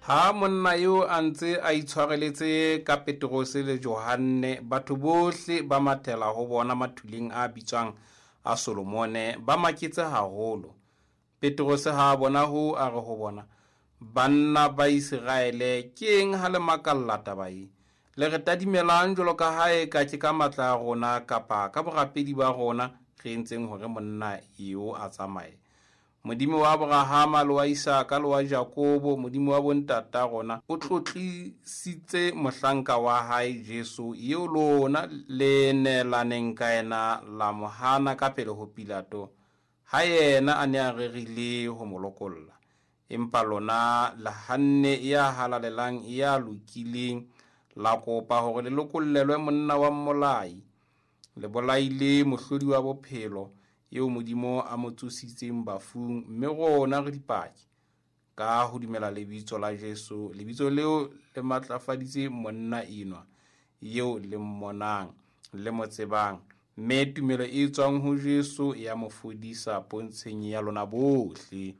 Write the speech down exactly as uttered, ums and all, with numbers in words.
Ha monna eo a ntse a itshwareletse ka Petrose le Johanne, batho bohle ba mathela ho bona mathuleng a bitswang a Solomone, ba maketse haholo. Petrose ha a bona hoo, a re ho bona, "Banna ba Iseraele, ke eng ha le makalla taba e? Le re tadimelang jwalo ka ha eka ke ka matla a rona kapa ka borapedi ba rona re entseng hore monna eo a tsamaye. Modimo wa Abrahama le wa Isaka le wa Jakobo, Modimo wa bontata rona, o tlotlisitse mohlanka wa hae Jesu, eo lona le neelaneng ka yena la mo hana ka pele ho Pilato, ha yena a ne a rerile ho mo lokolla. Empa lona le hanne ya halalelang ya lokileng, la kopa hore le lokollelwe monna wa mmolai. Le bolaile mohlodi wa bophelo, eo Modimo a mo tsositseng bafung, mme rona re dipaki. Ka ho dumela lebitso la Jesu, lebitso leo le matlafaditse monna enwa, eo le mmonang, le mo tsebang, mme tumelo e tswang ho Jesu ya mo fodisa pontsheng ya lona bohle."